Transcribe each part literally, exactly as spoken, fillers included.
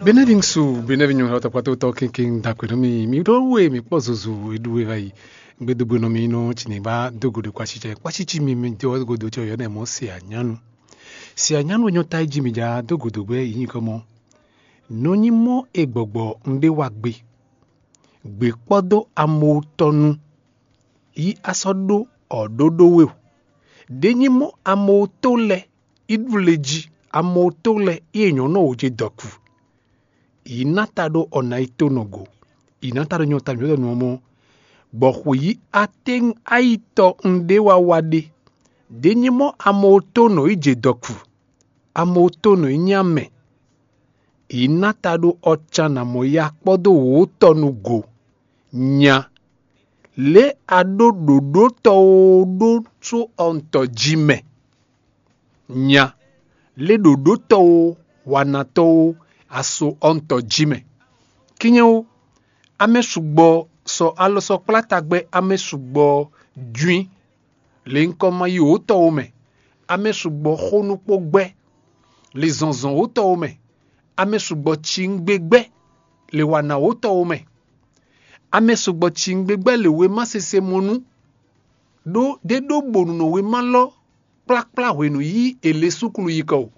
Benɛ́ ɖi ŋsu, benɛ́ ɖi nyɔ̌nu tɔkpatɔ́tɔ́ kɛnklɛ́n da kpɛ̌ nú mì. Mi ɖó we mǐ kpɔ́ zozo e ɖu e vayi. Gbedogbe nɔ mi nɔ tsi ní ba dó godo kpácícɛ. Kpácící mi mi dó godo tsi ɔyɔ̌ nɛ mɔ̌ se anyánu. Se anyánu e nyɔ́ ta yi jí mi ja dó godo gbɛ́ yi nyǐkɔ mɔ. Nɔ nyí mɔ e gbɔgbɔ un ɖé wa gbe. Gbě kpɔ́ dó amotɔnu yí a sɔ́ ɖó ɔ̌ ɖó ɖó we o. Ɖě nyí mɔ amotó lɛ́ɛ í ɖu le jí, amotó lɛ́ɛ í è nyɔ̌ nɔ wǒ ce dɔ̌ku. Yǐ ná ta ɖó ɔ́ ná yi tó nɔ go. Yǐ ná ta ɖó nyɔ́ ta mǐ ɖɔ nǔ ɔ́ mɔ, bɔ xwě yí a tɛ́ ayi tɔ un ɖé wá wá ɖe. Ɖě nyí mɔ amotó nɔ yi jɛ dɔ̌ku, amotó nɔ yi nyí amɛ. Yǐ ná ta ɖó ɔ́ can nǎ mɔ ya kpɔ́ dó wǒ tɔ nu go. Nya, lě a ɖó ɖǒɖótɔ́ ó ɖó só ɔntɔ jí mɛ. Nya, lě ɖǒɖótɔ́ ó wanatɔ́ ó aso ɔntɔ jí mɛ. Kínyɛ ó, amɛ sugbɔ sɔ alɔ sɔ kplá tagbɛ amɛ sugbɔ jwín, lě ŋkɔ ma yi wǒtɔ́ ó mɛ. Amɛ sugbɔ xó nukpó gbɛ́, lě zɔnzɔn wǒtɔ́ ó mɛ. Amɛ sugbɔ cingbe gbɛ́, lě wa ná wǒtɔ́ ó mɛ. Amɛ sugbɔ cingbe gbɛ́ lě wěma sese mɔ nú, ɖó ɖé ɖó bonu nɔ wěma lɔ kplakplá hwenu yí è lě súklu yi kɔ o.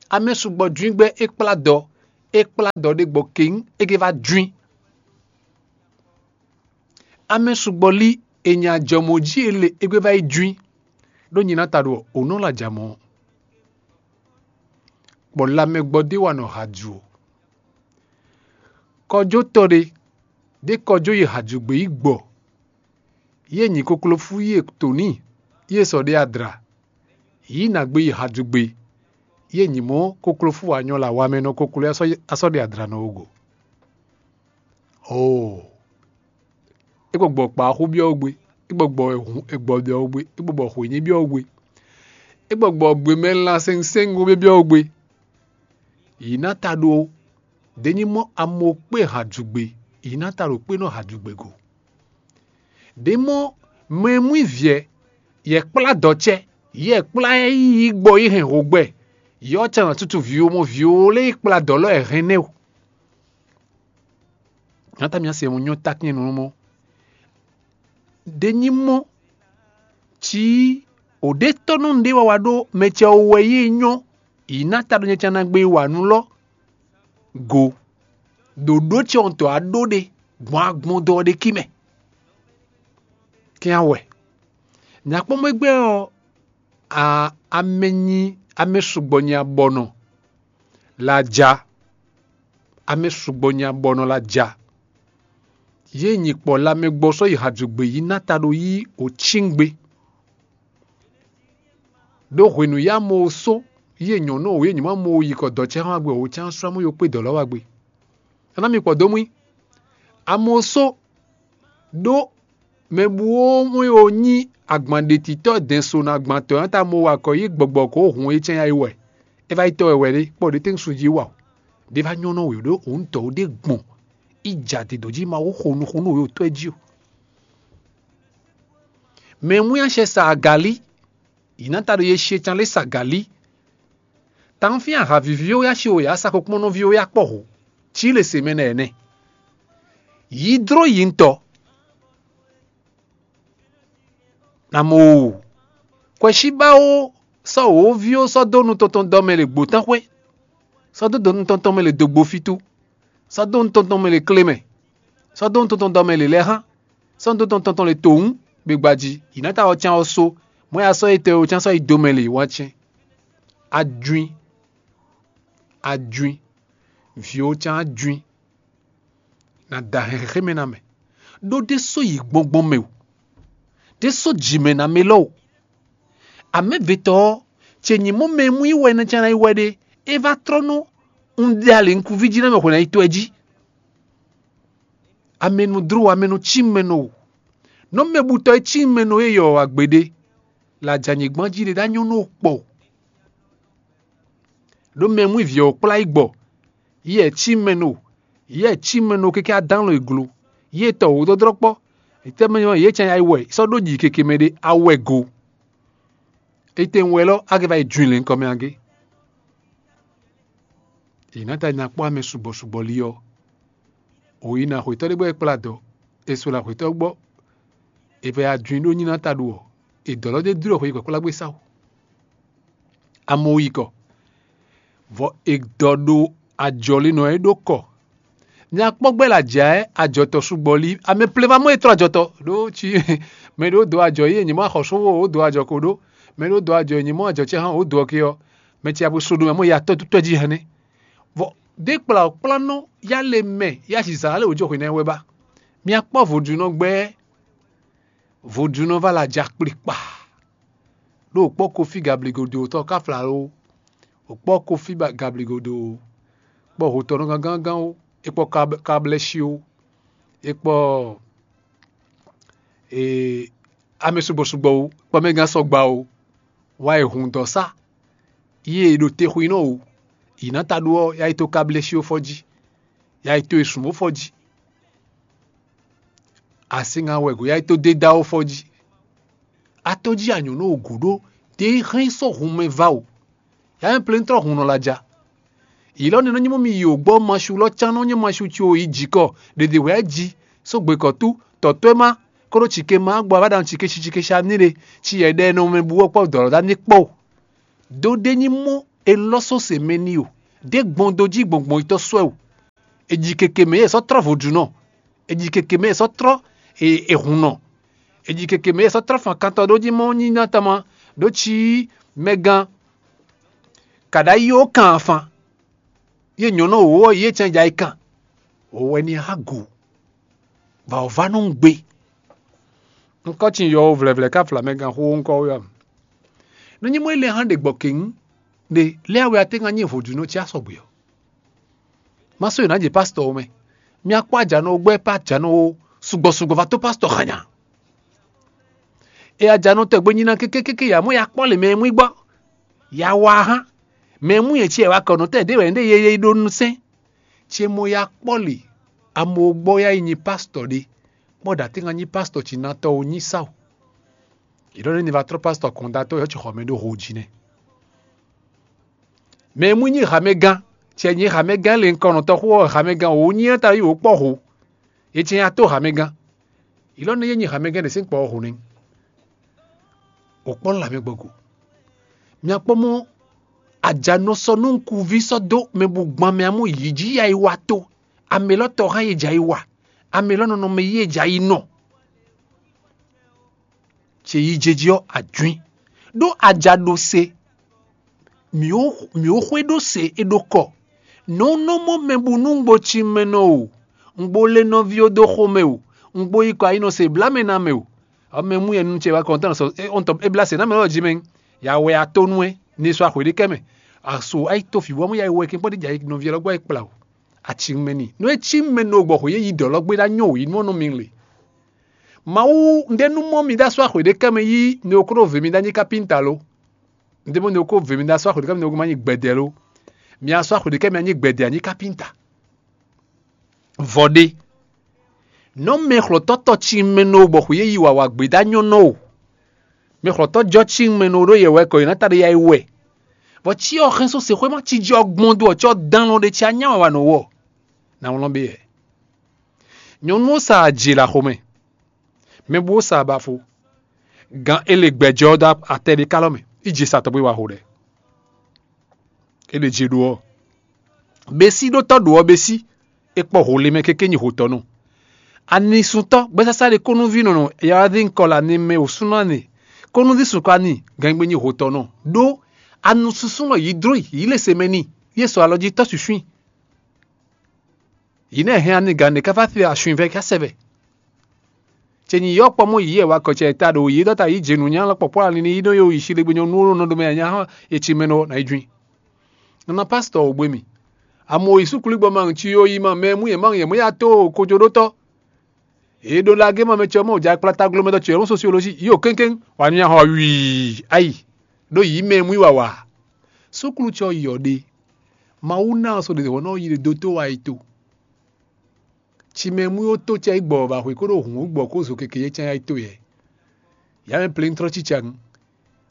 Amɛ sugbɔ jwíngbɛ́ é kplá dɔ, é kplá dɔ ɖé gbɔ keng é gé vá jwín. Amɛ sugbɔ lí è nya jɔmɔ̌ jí è lě é gbe vá yi jwín, ɖó nyi ná ta ɖo ɔ̌, ǒ nɔ lɔ ajǎ mɔ. Bɔ lanmɛ gbɔ ɖé wa nɔ ha ju o. Kɔjó tɔ ɖé, ɖé kɔjó yi hajugbe yi gbɔ, yě nyi koklofú yě toni, yě sɔ ɖe adra, yǐ nǎ gbé yi hajugbe, yě nyi mɔ̌ koklofú wá nyɔ́ la wamɛ nɔ koklo asɔ ɖe adra nɔ wo go. Oo, é gbɔ gbɔ kpa xú byɔ́ gbe, é gbɔ gbɔ hun é gbɔ byɔ́ gbe, é gbɔ gbɔ xwényí byɔ́ gbe, é gbɔ gbɔ gbemɛ lan sɛnsɛngo byɔ́ gbe. Yǐ ná ta ɖó ɖě nyí mɔ́ amo kpé hajugbe, yǐ ná ta ɖo kpé nɔ hajugbe go. Ɖě mɔ́ mɛ e mú i vǐ ɛ, yɛ kplá dɔ̌ cɛ, yɛ kplá ɛ yi gbɔ yi hɛn hogbɛ, yɔ can nɔ tutu vǐwo mɔ vǐwo lé yi kplá dɔ̌ lɔ ɛ hɛn nɛ́ o. Nyata mía se mo nyɔ takín nɔ mɔ. Ɖě nyí mɔ́ cí o ɖe tɔ́ nɔ ɖé wa wa ɖó mɛ cɛ o wɛ yi nyɔ, yǐ ná ta ɖo nyɛ can ná gbé wa nú lɔ go. Ɖo ɖó cɛ ɔn tɔ a ɖó ɖe gbɔn agbɔn dɔ ɖe kí mɛ. Kɛn wɛ nyakpɔ́mɔ gbɛ ɔ́, a amɛ nyi amɛ sugbɔ nyi abɔnɔ la ja. Amɛ sugbɔ nyi abɔnɔ la ja. Yě nyi kpɔ lanmɛ gbɔ sɔ́ yi hadzugbe yi ná ta ɖo yí o cíngbe. Ɖó hwenu yá mo só yí e nyɔ̌nu o yé nyí ma mo yi kɔ dɔ̌ cɛ hɔn agbe o cán srɔ́ mú yo kpé dɔ̌ lɔ́ wá gbe. Aná mi kpɔ dó mú i. Amo só ɖó mɛ bú ó mú o nyí agban ɖetitɔ́ dɛn so nɔ agban tɔ̌ nyɔ́ ta mo wa kɔ yí gbɔgbɔ kó hun é cɛ́n yá yi wɛ. É vá yi tɔ́ wɛ wɛ ɖé kpɔ ɖě tɛ́n su jí wa o. Ɖé vá nyɔ́ nɔ wě ɖó òun tɔ̌ ó ɖé gbɔn. Í ja te dǒ jí ma wó xo nuxunú wě o tɔ́ ɛ jí o. Mɛ mú yá sɛ sa agalí, yǐ ná ta ɖo ye she can lé sa agalí. Tawun fín ahavíví ó yá si o yǎ sa xokplɔ́nɔví ó yá kpɔ́ hǔ, cí le se mɛ nɛ ɛnɛ. Yí dló yi ŋutɔ. Namɔ o, kwɛsíbá ó sɔ́ wǒví ó sɔ́ dó nutɔn tɔn dɔ mɛ le gbǒtánxwé, sɔ́ dó nutɔn tɔn mɛ le dǒgbó fítú, sɔ́ dó nutɔn tɔn mɛ le klémɛ, sɔ́ dó nutɔn tɔn dɔ mɛ le lɛ́hán, sɔ́ dó nutɔn tɔn le tòwún gbegbají. Yǐ ná ta ɔ́ cán ɔ́ só, mɔ̌ ya sɔ́ yi tɛ ɔ́ cán sɔ́ yi dó mɛ le wá cɛ́n. Ajwin, ajwin, vǐ ó cán ajwin. Na da hɛn xexémɛ ná mɛ, ɖó ɖésó yi gbɔngbɔn mɛ o, ɖésó jǐ mɛ ná mɛ lɔ o. Amɛ̌vetɔ́ ɔ́, ce nyí mɔ mɛ e mú yi wɛ nɛ́ cán ná yi wɛ ɖé, é vá trɔ́ nú un ɖe ali nukúnví jí ná mɛ hwɛ ná yi tɔ́ ɛ jí. Amɛnudró amɛnú cí mɛ nɔ o, nɔ mɛbutɔ́ e cí mɛ nɔ é yɔ wá gbeɖé, lajɛ anyigban jí ɖé ɖó anyɔ́ nú kpɔ o. Ɖó mɛ e mú vǐ ɔ́ kplá yi gbɔ, yɛ cí mɛ nɔ, yɛ cí mɛ nɔ kɛkɛ adán lɔ e glo, yɛ tɔ wǒdɔdrɔ́ kpɔ́, tɛ́mɛ yɛ cɛn ayi wɛ sɔ́ ɖó jǐ keke mɛ ɖé awɛ go. Étɛ́ wɛ lɔ a ka va yi jwin lě nukɔn mɛ a gé? Yě ná ta ná kpɔ́ amɛ sugbɔ sugbɔ li ɔ́, wǒ yi ná xwetɔ́ ɖé gbɔ é kplá dɔ, è so là xwetɔ́ gbɔ, è vɛ ajwin ɖó nyí ná ta ɖu ɔ́, è dɔ̌ lɔ dó dló xwe yi kpɛ̌kplágbé sá o. Amɔ yi kɔ, vɔ è dɔ ɖo ajɔ̌línɔ e ɖó kɔ. Nya kpɔ́ gbɛ́ lě ajǎ ɛ ajɔ̌tɔ́ sugbɔ li, amɛ plé ma mɔ e tlɔ́ ajɔ̌tɔ́ ɖó cí mɛ ɖé wó dǒ ajɔ̌ yí è nyǐ mɔ axɔ̌súnxó wǒ dǒ ajɔ̌ ko ɖó, mɛ ɖé wó dǒ ajɔ̌ è nyǐ mɔ ajɔ̌ ce hán wǒ dó ɔ́ ké ɔ́, mɛ ce abú sodome mɔ ya tɔ́ tɔ́ jí hɛn nɛ́. Vɔ ɖěkplawǔkplánɔ yá le mɛ yá zǐzá lé wǒ jó hwě ná ɛ wɛ ba. Mi akpɔ́ vodúnɔ gbɛ́, vodúnɔ va la ja kplikpa. Ɖó wǒ kpɔ́ Kofi Gabligodo tɔn ká fla ó, wǒ kpɔ́ Kofi Gabligodo ó, kpɔ́ hotɔnɔ gángángán ó, é kpɔ́ Kablɛ́shi ó, é kpɔ́ amɛ sugbɔ sugbɔ ó, kpɔ́ mɛ gán sɔgba ó, wá yi hun dɔ̌ sá. Yí e ɖo te xwinɔ o, yǐ ná ta ɖó ɔ́, yá yi tó Kablɛ́shi ó fɔ jí, yá yi tó e sǔn ó fɔ jí. Asíŋa wɛ gǒ yá yi tó dé dá ó fɔ jí. A tó jí anyǔ nú wǒ gǔ ɖó dě hɛn sɔ́ hun mɛ va o. Yǎ mɛ plɛ́ntrɔ́ hun nɔ la ja. Yǐ lɔ nɛ́ nɔ nyí mɔ mi yi wǒ gbɔ masu lɔ cán nɔ nyí masu ci o yi jǐkɔ ɖěɖě wɛ jí sógbe kɔ̌tú tɔ̌tɔ́ e má kóɖó cike má gbɔ a vá ɖa nɔ cike cí cike cí aní ɖe ci yɛ ɖɛ nɔ mɛ bú ɔ́ kpɔ́ dɔ̌lɔ́ dá ní kpɔ́ o. Dó ɖé nyí mɔ è lɔ́ só se mɛ n'i o, ɖě gbɔn dó jí gbɔngbɔn yitɔ́ sɔ́ ɛ o. È ji keke mɛ yě sɔ́ trɔ́ vodúnɔ, è ji keke mɛ yě sɔ́ trɔ́ è- èhunnɔ, è ji keke mɛ yě sɔ́ trɔ́ fan kantɔ ɖó jí mɔ nyí ná tama ɖó cí mɛgán. Kàɖá yí ó kan afan, yé nyɔ̌nu wǒ ɔ́ yé cɛn ja yi kan, wǒ wɛ ní há gu, bɔ wǒ vá nɔ gbe. Un kɔ́ cin yɔwó vlɛvlɛ ká fla mɛgán xó ɔ́ ŋkɔ wɛ ɔ́. Nú nyí mɔ é lɛ́ hán ɖe gbɔ kěŋ ɖe lɛ́ wɛ a tɛ́ ŋá nyí vodúnɔ cí asɔgbe ɔ́. Má sɔ́ yě ná jɛ pásítɔ ɔ́ mɛ. Mi akpɔ́ ajǎnɔ gbɛ́ pá ajǎnɔ ó, sugbɔ sugbɔ va tó pásítɔ xanya. E ajǎnɔ tɔgbe nyi ná kékékéké ya mɔ ya kpɔ́ lě mɛ e mú i gbɔ. Ya wa hán. Mɛ e mú yě cí ɛ wá kɔ nɔ tɛ́ ɖě wɛ ɖé ye ye ɖó nusɛn. Cé mɔ ya kpɔ́ lě, amo gbɔ ya yi nyi pásítɔ ɖé, kpɔ́ ɖa tɛ́ ŋá nyí pásítɔ cí ná tɔ́ ó nyí sá o. Yě ɖɔ nɛ́ ni va trɔ́ pásítɔ kɔndatɔ́ yɔ́ ci xɔ mɛ ɖó ho jí nɛ́. Mɛ e mú nyí hamɛgán, cɛ nyí hamɛgán le ŋkɔnɔtɔ́ xó ɔ́ hamɛgán wǒ nyí ɔ́ ta yí wǒ kpɔ́ ho. È cɛ nyi ato hamɛgán. Ilɔ́ nɛ́ yé nyi hamɛgán ɖě sín kpɔ ɔ́ ho nɛ́. Wǒ kpɔ́ nú lamɛ gbɔgo. Mi akpɔ́ mɔ ajanɔ sɔ́ nú nukúnví sɔ́ dó mɛ bu gban mɛ amú yǐ jí ya yi wa tó. Amɛ lɔ tɔ hán yé jɛ ayi wa. Amɛ lɔ nɔnɔ mɛ yí yé jɛ ayi nɔ. Ce yi její ɔ́ ajwín. Ɖó aja ɖo se, mǐ ó xwé ɖó se é ɖó kɔ. Nɔ́ nɔ mɔ mɛ bú nú un gbo cí mɛ nɔ o, un gbo lé nɔví ó dó xomɛ o, un gbo yi kɔ ayi nɔ se blá mɛ ná mɛ o. Ɔ́ mɛ mú yɛ nu ce wá kɔn tɔn sɔ é ɔn tɔ é blá se ná mɛ lɔ jí mɛ. Ya wɛ a tó nú ɛ ní sɔ axwě ɖé kɛ mɛ. Aso ayi tó fǐ bɔ mú ya yi wɛ kɛn kpɔ́ ɖé jɛ ayi nɔví ɔ́ lɔ gbɔ yi kpla o. Aci mɛ ni. Nú é cí mɛ nɔ gbɔ xwě yé yi dɔ̌ lɔ gbé ɖá nyɔ wǒ yi nú ɔ́ nɔ mi le. Mawu, un ɖe nú mɔ mi ɖó asú axwě ɖé kɛ mɛ yí nukúnnú ve mi ɖó anyí kápínta lo? Un ɖe mɔ nukúnnú ve mi ɖó asú axwě ɖé kɛ mɛ nukúnnú ma nyí gbɛdɛ lo? Mi asú axwě ɖé kɛ mɛ anyí gbɛdɛ anyí kápínta. Vɔ ɖé. Nɔ mɛ xlɔ̌tɔ́ tɔ ci mɛ nɔ bɔ xwě yé yi wǎwá gbé ɖó anyɔ́nɔ o. Mɛ xlɔ̌tɔ́ jɔ ci mɛ nɔ ɖó yɛ wɛ kɔ yě ná ta ɖé ya yi wɛ. Vɔ cí ɔ́ xɛn só sexwéma cí jɔ gbɔn dó ɔ́ cɔ dán lɔ ɖé cí anyá wǎwá nɔ wɔ. Ná wlɔ́n bé yɛ. Nyɔ̌nu ɔ́ sa aji ɖo axomɛ. Mɛ bú sa abafo. Gan é le gbɛjɔ ɔ́ dó atɛ ɖé kálɔ mɛ, í je sa tɔgbé wa xo ɖɛ. É ɖe je ɖo ɔ́. Běsí ɖó tɔ́ ɖo ɔ́ běsí, é kpɔ ho le mɛ kéké nyi hotɔ́nu. Anisúntɔ́ gbɛ́sásá ɖé kónúví nɔnɔ yawádí ŋkɔ le ani mɛ wǒsúnɔ ani, kónúví sunkɔ ani gangbe nyi hotɔ́nu. Ɖó anusúsúnɔ yǐ dló yǐ le se mɛ n'i, yě sɔ alɔ jí tɔ́ suswín. Yě nɛ́ hɛn ani gǎn ɖé ká fá fi asun vɛ ká sɛ vɛ. Ce nyi yɔ́ kpɔ́ mɔ yǐ yɛ wa kɔ cɛ ta ɖo yě dɔ́ ta yí jenu nyá lɔ kpɔ́kpɔ́ alin ní yí nɔ yó yi sílígbe nyɔ́ nú nɔ ɖo mɛ nya hɔn e ci mɛ nɔ ná yi juin. Nana pásítọ̀ ò gbé mì. Amo yi súkúlú gbɔ ma ŋ ci yó yi ma mɛ mú yɛ ma ŋ yɛ mɔ ya tó kojoɖótɔ́. Yě ɖo lagé ma mɛ cɛ mɔ ja kplá tagló mɛ dɔ cɛ mɔ sosiolózi yó kéŋkéŋ wà ní ahɔ wii ayi. Ɖó yǐ mɛ mú yi wàwà. Súkúlú cɛ yi ɔ́ ɖe. Mawu ná ɔ so ɖe wɔ̌ nɔ yi ɖe dó tó wa yi to. Ci mɛ mú yó tó cɛ yi gbɔ ba hwe kó ɖo hǔn gbɔ kó zo keke yé cán yá yi to yɛ. Yá mɛ plɛ́ntrɔ́ cícá ŋu.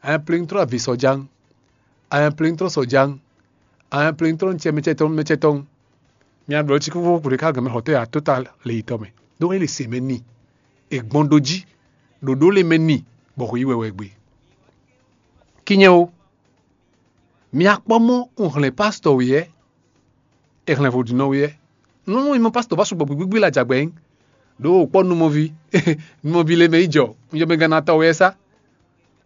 Amɛ plɛ́ntrɔ́ avǐ sɔ́ ján. Amɛ plɛ́ntrɔ́ sɔ́ ján. Aplintɔn cɛ mɛ cɛ tɔn mɛ cɛ tɔn. Mia ɖɔ cikúfú kúɖe ká gɛmɛ xɔtɔ́ ya tó ta le yitɔ mɛ. Ɖó é le se mɛ ni. È gbɔn ɖó jí. Ɖoɖó le mɛ ni. Bɔ xwe yi wɛ wɛ gbe. Kinyɛ o. Mia kpɔ mɔ un hlɛn pastɔ wɛ yɛ. È hlɛn vodunɔ wɛ yɛ. Nɔnɔ yi mɔ pastɔ ba sugbɔ gbigbigbí la jagbɛ yín. Ɖó o kpɔ numɔvi. Numɔvi le mɛ yi jɔ. Un jɔ mɛ gannatɔ wɛ sá.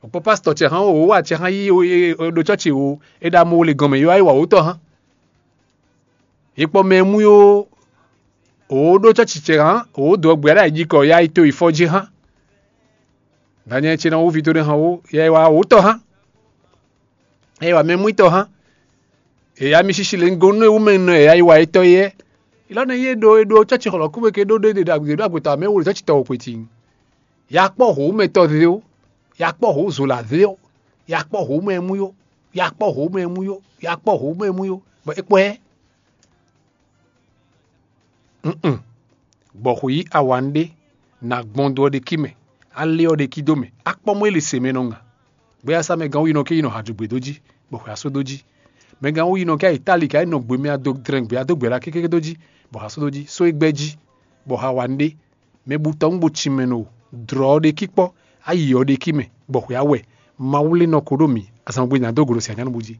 Òkpɔ pásítọ̀ ce hán o, wǒ wa ce hán yí ɖo cɔ́ci o, é ɖo amɔ le gɔnmɛ yó wá yi wa wǒtɔ hán. Yi kpɔ mɛ mú yó, wǒ ɖó cɔ́ci ce hán, wǒ dó ɔgbɛ ɖo ayǐjikɔ ya yi to yi fɔ jí hán. Danyɛ ce ná wú ví to ɖé hán wó, ya yi wa wǒtɔ hán. Ya yi wa mɛ mú tɔ hán. Èyá mi sisi le gɔ́n nú ewúmɛ nɔ èyá yi wa étɔ́ yɛ. Ilɔ́ nɛ yé ɖo e ɖo cɔ́ci xɔlɔ̌kúwe ke ɖó ɖé ɖe ɖo agbègbè tɔn wǒ xwetí. Ya kpɔ́ hǒmɛtɔ́ zé ó, ya kpɔ́ hǒzola zé ó, ya kpɔ́ hǒmɛmú yó, ya kpɔ́ hǒmɛmú yó, ya kpɔ́ hǒmɛmú yó, bɔ é kpɔ́ ɛ. Nn. Gbɔxwǐ awanɖé, nǎ gbɔn dó ɔ́ ɖe kí mɛ, alé ɔ́ ɖe kí dó mɛ, akpɔ́ mɔ é le se mɛ nɔ ŋa. Gbéyásá mɛ gán wú yi nɔ ké yi nɔ hǎjugbe dó jí, bɔ xwe asó dó jí. Mɛ gán wú yi nɔ ké yi táli ka yi nɔ gbe mɛ adó drɛn gbe adó gbɛ ɖa kéké dó jí, bɔ xwe asó dó jí, só é gbɛ́ jí, bɔ xa wa nɖé. Mɛ bu tɔ́ ŋu bo cin mɛ nɔ dlɔ̌ ɔ́ ɖe kí kpɔ́, ayi ɔ́ ɖe kí mɛ, bɔ xwe awɛ. Mawu lé nɔ ko ɖó mǐ, azǎn gbe nya dó go ɖo sɛ anyánu bú jí.